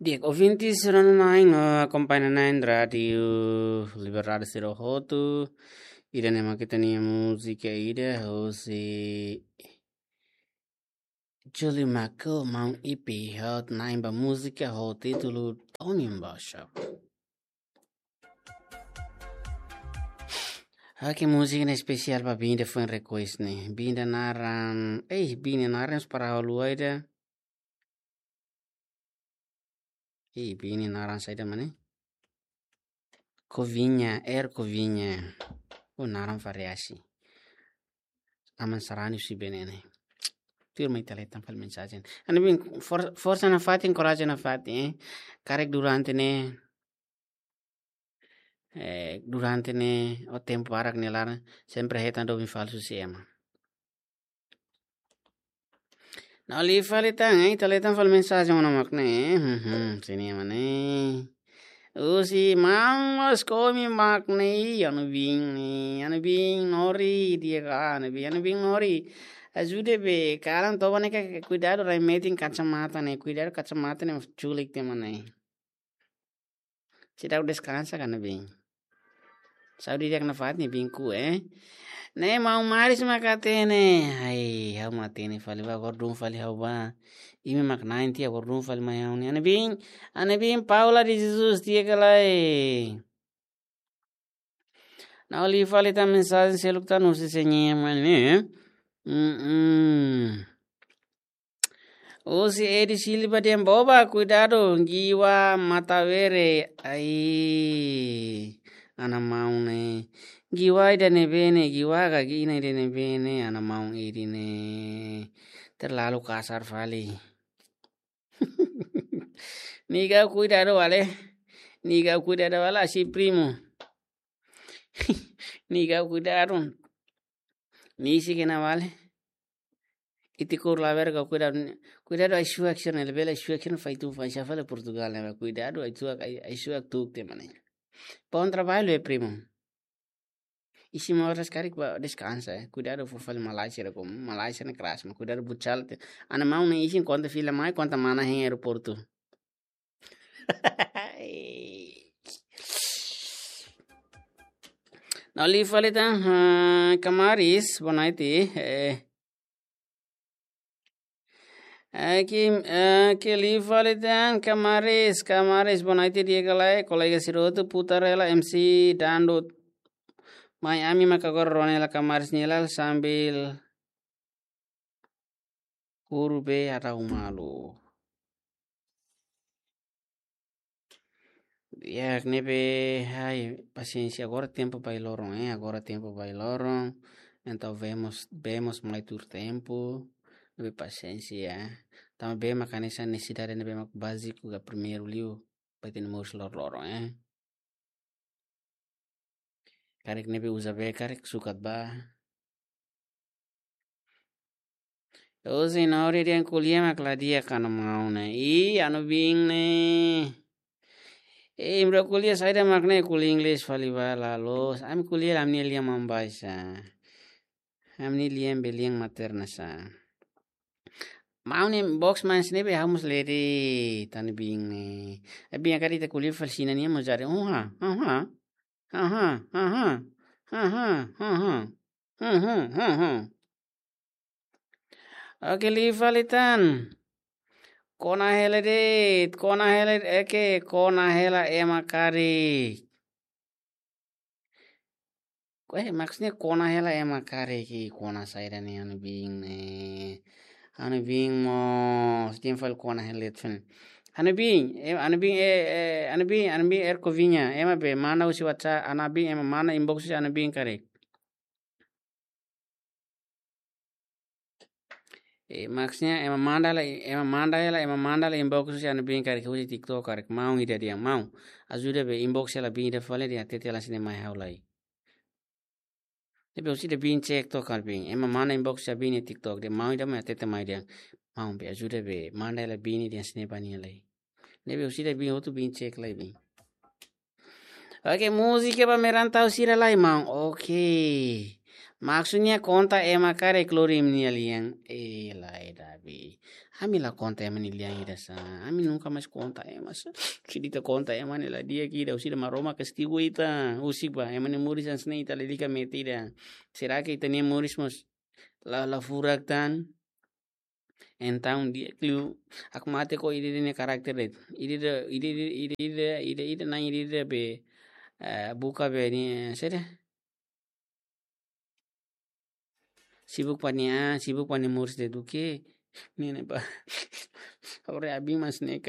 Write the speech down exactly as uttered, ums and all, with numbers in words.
Di'ak, ouvintes rona-na'in no akompaña-na'in Rádiu Liberdade sira hotu. Ida-ne'e mak ita-nia múzika ida hosi Julie Michael, Maun Ipi, hot na'in ba múzika ho títulu Tony Mbasha. Oke, múzika ne'e espesiál ba biin ida foin request ne'e. Biin ida naran, eh, biin ida naran para halo ida. Eh, biin ida naran saida mak ne'e? Covinha, Er Covinha. Oh, naran variasi. Aman sarani si benene. Tuir mai ita hetan fali mensajen. Hanesan biin for-, forsa nafatin, korajen nafatin, eh. Karik durante ne'e, eh, durante ne'e, o tempu barak ne'e laran, sempre hetan doben falsu si ema. Na'in-lima fali tan, eh, ita hetan fali mensajen ona mak ne'e, eh, hmm, hmm, sini mana, eh. Husi maun Oskomi mak ne'e, hanesan biin ne'e, hanesan biin Nori, di'ak ka, hanesan biin, hanesan biin Nori. Ajuda be, kalan toba ne'e ka, kuidadu rai metin kacamata ne'e, kuidadu kacamata ne'e, culik te mana, eh. Seidauk deskansa ka hanesan biin. Saúde di'ak nafatin biin ku, eh. Ne'e maun Maris mak hatene. Ai, ha'u mak hatene fali ba, agora dún fali ha'u ba. Imi mak na'in tiha, agora dún fali mai ha'u ne'e. Hanesan biin, hanesan biin Paula de Jesus di'ak ka lae. Na'in-lima fali tan mensajen seluk tan husi señor mana, eh. Mm-mm. Husi Edi Silva dehan boba, kuidadu, Giwa Matavere. Ai, hanesan maun ne'e. Giwa ida ne'ebé ne'e, Giwa ka Gina ida ne'ebé ne'e, hanesan maun Edi ne'e. Terlalu kasar fali. Niga kuidadu wale. Niga kuidadu wale, asi primo. Niga kuidadu. Nia husik ona wale. Ita kor lawer ka kuidadu. Kuidadu ai-suak sira ne'e, bele ai-suak sira fai tu fai sa fali Portugal ne'e. Kuidadu ai-suak, ai, ai-suak tuuk te mana. Bom trabalho, eh, primo. Isin moras karik ba deskansa, eh. Kuidadu fó fali Malaysia da kom. Malaysia ne'e keras, mas kuidadu buat sala te. Hanesan maun ne'e isin konta fila mai, konta mana hein aeroportu. Na'in-lima fali tan, ah, Kamaris, boa noite, eh. Aki, aki na'in-lima fali tan, Kamaris, Kamaris, boa noite, di'ak ka lae, kolega sira hotu, Putarela, M C, Dando, mai ami maka agora rona hela Kamaris nia laran sambil kuru be harau malu. Ya, ne'ebé, ai, pasiénsia, agora tempu ba loron, eh, agora tempu ba loron. Entaun vemos, vemos mai tuir tempu, ne'ebé pasiénsia. Tanba be mak hanesan nesesidade ne'ebé mak báziku ka primeiru liu, ba ita-nia moris loroloron, eh. Karik ne'ebé uza be, karik sukat ba. Husi Nori dehan ko'alia mak la di'ak hanesan maun ne'e. Ih, hanesan biin ne'e. Eh, imi-rua ko'alia saida mak ne'e, ko'alia Inglés fali ba la loos. Ami ko'alia ami-nia lian mambae sa. Ami-nia lian be lian materna sa. Maun ne'e box man sini be ha'u mós lee de'it hanesan biin ne'e. Eh, biin karik ita ko'alia fali Xina nian mós jadi. Aha, aha. Aha, aha. Aha, aha. Mhm, mhm. Oke, na'in-lima fali tan. Kona hela de'it, kona hela, eke, kona hela ema karik. Ko, eh, maksudnya kona hela ema karik, kona saida ne'e hanesan biin ne'e. Hanesan biin mós, hanesan fali kona hela de'it. Hanesan biin, eh, hanesan biin, eh, eh, hanesan biin, hanesan biin Er Covinha, ema be manda husi WhatsApp, hanesan biin, ema manda inbox husi hanesan biin karik. Eh, maksudnya ema manda hela, ema manda hela, ema manda hela inbox husi hanesan biin karik husi TikTok karik maun ida dehan maun. Ajuda be inbox hela biin ida fali dehan hatete hela sini mai ha'u lai. Ne'ebé husi ida biin TikTok karik biin. Ema manda inbox husi biin nia TikTok dehan maun ida mai hatete mai dehan. Maun be ajuda be manda hela biin dehan sini ba nia lai. Ne'ebé husi ida biin hotu biin cek lai biin. Oke, múzika ba merantau sira lai, maun. Oke. Maksudnya konta ema karik lori imi-nia lian. Eh, lae, Davi. Ami la konta ema nia lian ida sá. Ami nunka mais konta ema sá. Se ita konta ema ne'e la di'ak ida, husi Maromak kastigu ita. Husik ba, ema nia moris hanesan ne'e ita lalika mete ida. Será que ita-nia moris mós la, la furak tan? Entaun di'ak liu, aku mate ko ida-ida nia karakter de'it. Ida-ida, ida-ida, ida-ida, ida-ida, na'in ida-ida be, eh, buka be nia, saida? Sibuk ba nia, sibuk ba nia moris de'it, oke. Ne'e, ne'e ba. Agora abin mas ne'e